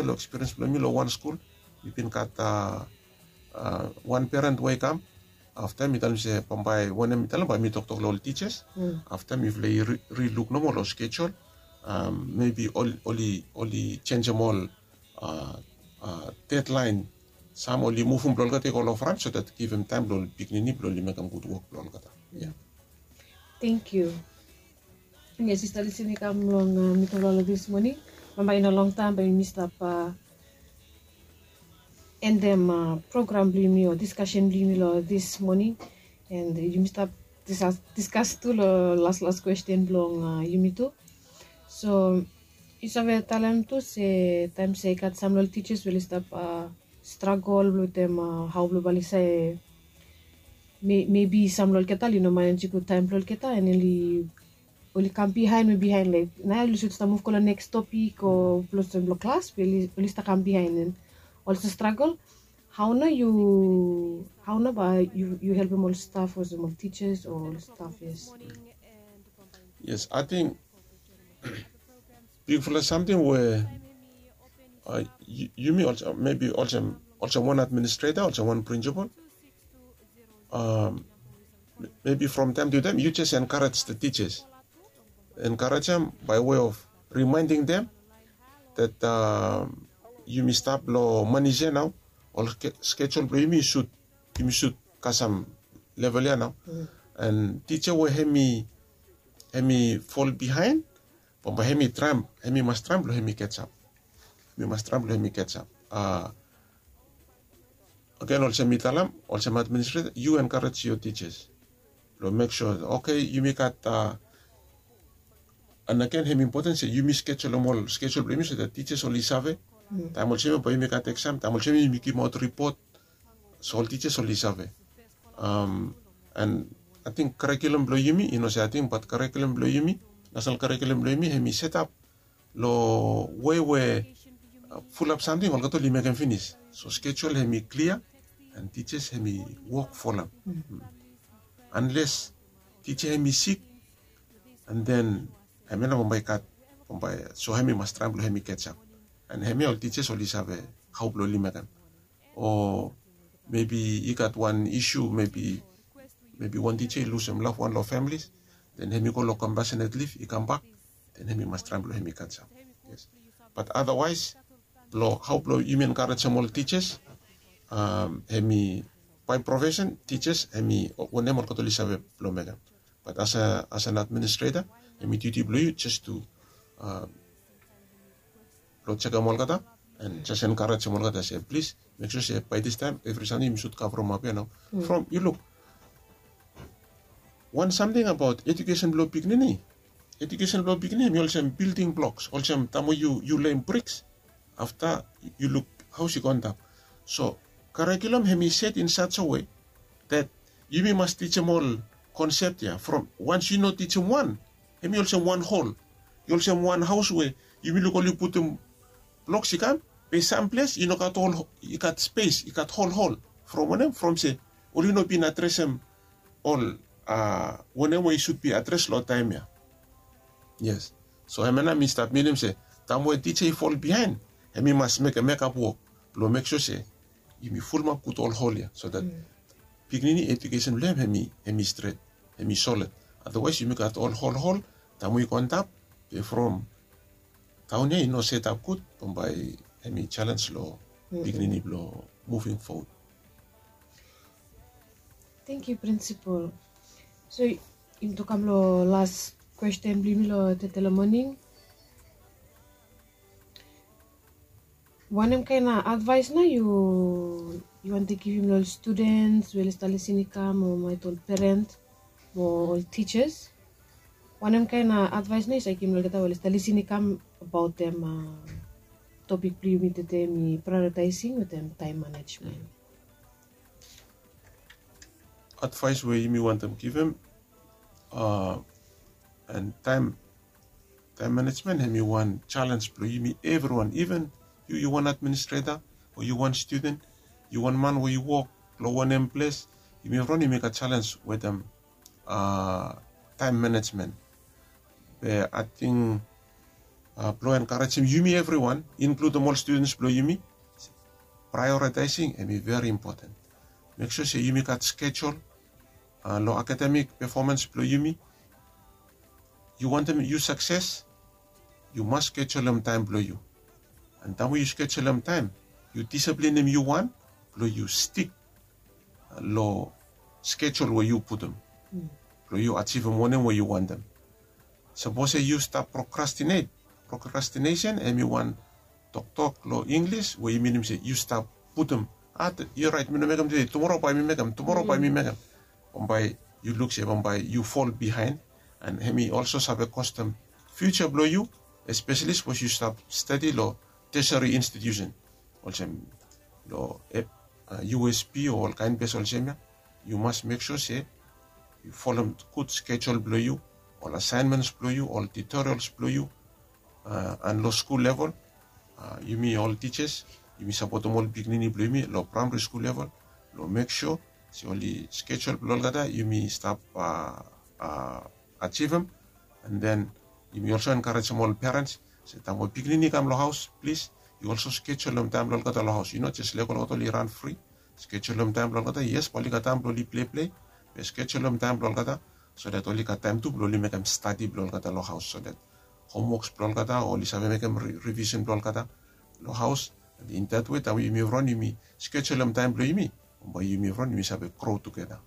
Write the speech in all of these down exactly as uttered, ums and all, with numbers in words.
long ekspiriens blong mi long wan skul, mi bin gat wan peren we i kam. Afta mi talem se bambae wanem mi talem bae mi toktok long ol tijas. Afta mifala i riluk nomo long skejul. Mebi oli jenjem ol dedlaen, sam oli muvum blong olgeta i go long fran so dat givim taem blong ol pikinini blong oli mekem gud wok blong olgeta. Tengkiu. Yes, sista lisin i kam long mitufala long dis moning. Bambae i no longtaem bae yumi stap endem program blong yumi o diskasen blong yumi long dis moning. And yumi stap diskas tu long las las kwesten blong yumi tu. So yu save talem tu se taem se i gat sam long ol tijas we oli stap stragol blong wetem hao blong bae oli save, mebi sam long olgeta oli no manage gud taem blong olgeta and oli oli kam bihaen we bihaen laik nao oli sud stap muv go long neks topik o blong olsem blong klas be oli stap kam bihaen and olsem stragol. Hao nao yu hao nao bae yu helpem ol staf olsem ol tijas o ol staf? Yes. Yes, ating bigfala samting we yumi olsem mebi olsem wan administreta olsem wan prinsipal, mebi from taem tu taem yu jes enkarej the tijas, enkarejem bae we of rimaending dem dat yumi stap long manis ya nao. Ol skejul blong yumi sud yumi sud kasem level ya nao. And tija we hemi fol bihaen bambae hemi traem hemi mas traem blong hemi ketsap. Hemi mas traem blong hemi ketsap. Agen olsem mi talem olsem administreta yu enkarej yo tijas blong mek sua oke yumi gat. And agen hemi impoten se yumi skejul long ol skejul blong yumi so dat tijas oli save taem olsem ya bae yumi gat eksam taem olsem ya yumi givimaot ripot. So ol tijas oli save. And ating karikulum blong yumi i no se ating bat karikulum blong yumi, nasenal karikulum blong yumi hemi setap long wei we fulap samting olgeta oli mekem finis. So skejul hemi klia and tijas hemi wok folem. Anles tija hemi sik and then hemia nao bambae i gat bambae so hemi mas traem blong hemi ketsap. And hemia ol tijas oli save hao blong oli mekem. O mebi i gat wan isu mebi wan tija i lusem lafwan long familis, then hemi go long kompasenet lif i kambak, then hemi mas traem blong hemi ketsap. Bat adawaes blong hao blong yumi enkarejem ol tijas, hemi bae profesen tijas hemi wanem olgeta oli save blong mekem. Bat as an administreta hemi diuti blong yu jes tu blong jekem olgeta and jes enkarejem olgeta se plis mek sua se bae distaem evri samting yumi sud kavremap ya nao. From yu luk wan samting abaot ejukesen blong pikinini. Ejukesen blong pikinini hemi olsem bilding bloks olsem taem we yu lem briks afta yu luk haos i go antap. So karikulum hemi set in saja we dat yumi mas tijim ol konsep ya from wans yu no tijim wan hemi olsem wan hol. I olsem wan haos we yumi luk oli putum bloks i kam be sam ples i no gat ol i gat spes i gat holhol. From wanem from se oli no bin adresem ol wanem we i sud bi adres long taem ya. Yes. So hemia nao mi stap minim se taem we tija i fol bihaen hemi mas mekem mekap wok blong mek sua se yumi fulumap gud ol hol ya so dat pikinini ejukesen blong hem hemi stret, hemi solid. Adawaes yumi gat ol holhol taem we i go antap be from taon ya i no setap gud bambae hemi jalens long pikinini blong muving fowod. Tengkiu prinsipol. So yumi tu kam long las kwesten blong yumi long tete long moning. Wanem kaen advaes nao yu wantem givim long ol studens we oli stap lisin i kam o maet ol peren o ol tijas? Wanem kaen advaes nao yu save givim long olgeta we oli stap lisin i kam abaotem topik blong yumi tede mi praeoritaesing wetem taem manejmen? Advaes we yumi wantem givim and taem taem manejmen hemi wan jalens blong yumi evriwan iven yu yu wan administreta o yu wan studen, yu wan man we yu wok long wanem ples, yumi evriwan yumi gat jalens wetem taem manejmen. Be ating blong enkarejem yumi evriwan, inkludem ol studens blong yumi. Praeoritaesing hem i veri impoten. Mek sua se yumi gat skejul long akademik pefomans blong yumi. Yu wantem yu sakses, yu mas skejulem taem blong yu. An taem we yu skejulem taem, yu disiplinim yu wan blong yu stik long skejul we yu putum blong yu ajivim wanem we yu wantem. Sapos se yu stap prokrastinet, prokrastinesen hem i wan toktok long Inglis we i minim se yu stap putum, a, yu rait, mi no mekem tude, tumora bae mi mekem, tumora bae mi mekem. Bambae yu luk se bambae yu fol bihaen. An hem i olso save kostem fiuja blong yu, espeseli sapos yu stap stadi long tesari institiusen olsem long USP o ol kaen ples olsem ya. Yu mas mek sua se yu folem gud skejul blong yu, ol asaenmens blong yu, ol tutorials blong yu, an long skul level, yumi ol tijas, yumi sapotem ol pikinini blong yumi long praemari skul level, long mek sua se oli skejul blong olgeta yumi stap ajivim. An den yumi olso enkarejem ol perens se taem we pikinini i kam long haos, plis, yu olso skejulem taem blong olgeta long haos. Yu no jes lego olgeta oli ran fri. Skejulem taem blong olgeta, yes, bae oli gat taem blong oli pleiplei, be skejulem taem blong olgeta so dat oli gat taem tu blong oli mekem stadi blong olgeta long haos, so dat homwoks blong olgeta o oli save mekem rivisen blong olgeta long haos. An in dat we taem we yumi evriwan yumi skejulem taem blong yumi, bae yumi evriwan yumi save gro tugeta.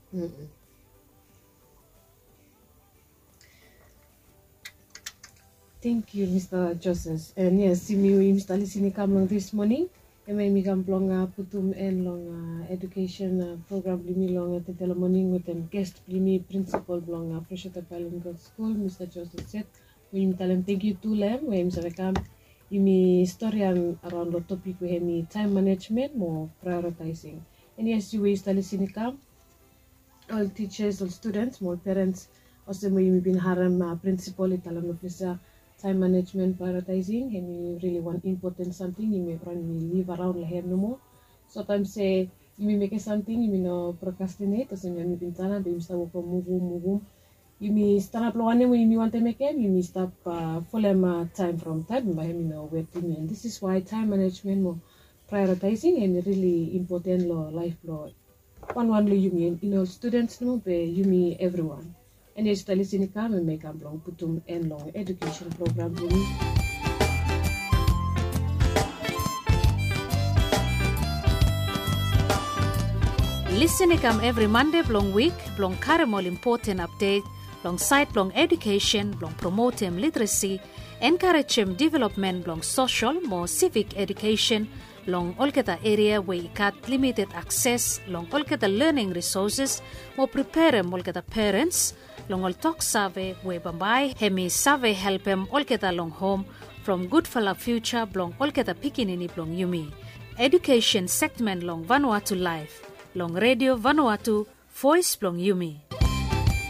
Tangkiu, Mista Joses. An yes, yumi we yumi stap lisin i kam long dis moning, hemia yumi kam blong putum en long edukesen program blong yumi long tede long moning wetem ges blong yumi, prinsipol blong Freshwater Bilingual Skul, Mista Joses Set, we yumi talem tangkiu tu long hem we hem i save kam yumi storian araon long topik we hem i taem manejmen mo praeoritaesing. An yes, yu we yu stap lisin i kam, ol tijas, ol studens mo ol perens, olsem we yumi bin harem prinsipol i talem long ples ya, taem manejmen, praeoritaesing hem i rili wan impoten samting yumi evriwan yumi liv araon long hem nomo. Sotaem se yumi mekem samting yumi no prokrastinet, olsem ya mi bin talem be yumi stap wokem muvum muvum. Yumi stanap long wanem we yumi wantem mekem, yumi stap folem taem from taem, bae hem i no wet yumi. An dis is wae taem manejmen mo praeoritaesing hem i rili impoten long laef blong wanwan long yumi, i no ol studens nomo be yumi evriwan. An yes, yu stap lisin i kam, hemia i kam blong putum en long edukesen program blong yumi. Lisin i kam evri Mande blong wik blong karem ol impoten apdet long saed blong edukesen blong promotem literesi, enkarejem developmen blong sosol mo sivik edukesen long olgeta eria we i gat limited akses long olgeta lening risoses, mo preperem olgeta perens long ol toksave we bambae hem i save helpem olgeta long hom from gudfala fiuja blong olgeta pikinini blong yumi. Edukesen segmen long Vanuatu Laef long Redio Vanuatu, voes blong yumi.